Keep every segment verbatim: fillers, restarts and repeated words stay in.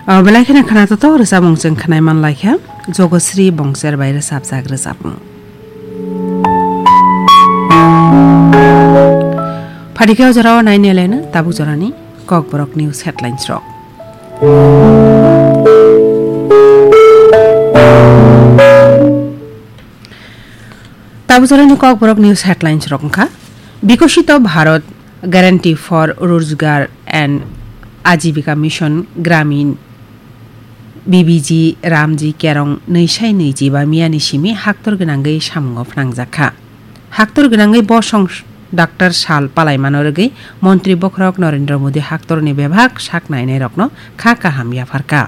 O belai kheno khwnathok rwchapmung chwng khwnai man lai kha, Jogosri Bongser bai rwchapjak rwchapmung. Phaikhe o jorao nainai laino tabuk jorani Kokborok News headlines rok. Tabuk jorani Kokborok News headlines rok wngkha: Bikosito Bharat Guarantee for Rojgar and Ajibika Mission Gramin B B G Ramji Kerong nwi sai nwi jiba miyani simi haktor gwnangwi samungo phnangjakha. Haktor gwnangwi bosong Doctor Sal palaimano rwgwi Montri Bokhorok Narendra Modi haktorni bebak sak nainairokno kha kaham yapharkha.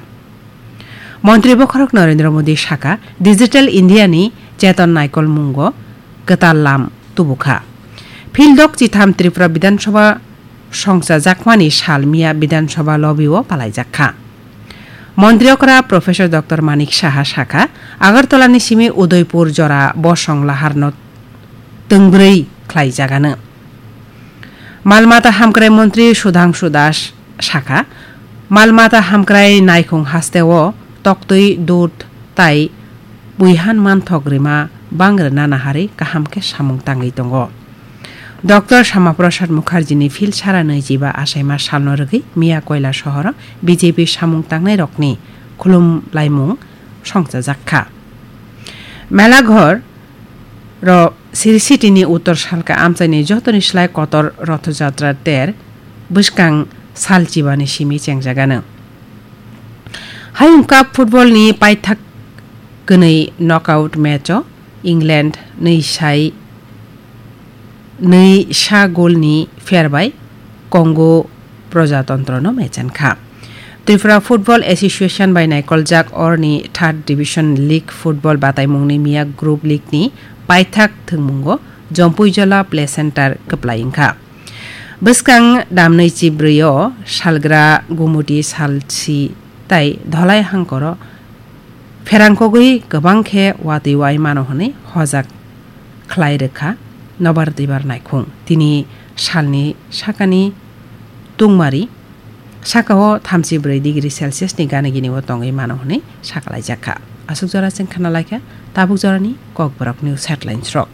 Montri Bokhorok Narendra Modi sakha, Digital India ni Cheton Naikol mungo kwtal lam tubukha. Phildok chitham Tripura Bidhan Sabha songchajakmani sal miya Bidhan Sabha lobby o palaijakha. Montri okra Professor Doctor Manik Saha sakha, Agartala ni simi Udaipur jora bosong laharno twngbwrwi khlaijagano. Malmata hamkrai montri Sudhangshu Das sakha, malmata hamkrai naikhung hasteo toktwi dud tai buihan manthok rima bang rwna naharwi kaham khe samung tangwi tongo. Doctor Shama Prasad Mukherjee ni phil sara nwijiba achaima salno rwgwi miya Koila sohoro B J P samung tangnairokni khulumlaimung songchajakha. Melaghor ro Sri City ni uttor salka amchaini jotoni slai kotor Rothojatra ter bwskang sal chibani simi chengjagano. Hayung Cup football ni paithak kwnwi knockout match o England nwi sai nwi sa goal ni pher bai Congo Projatantrono mechenkha. Tripura Football Association bai naikoljak orni Third Division League football bataimungni miya Group League ni paithak thwngmungo Jompuijola Play Center kwplai wngkha. Bwskang damnwi chibrwi o salgra Gumuti salsi tai Dholai hangkoro pherangkogwi kwbang khe watwi wai mano hwnwi hojak khlai rwkha nobar twibar naikhung. Tini salni sakani tungmari sakao thamchi brwi degree Celsius ni gana gini o tongwi mano hwnwi sakalaijak kha. Aswk jora chwng khna lai kha tabuk jorani Kokborok News headlines rok.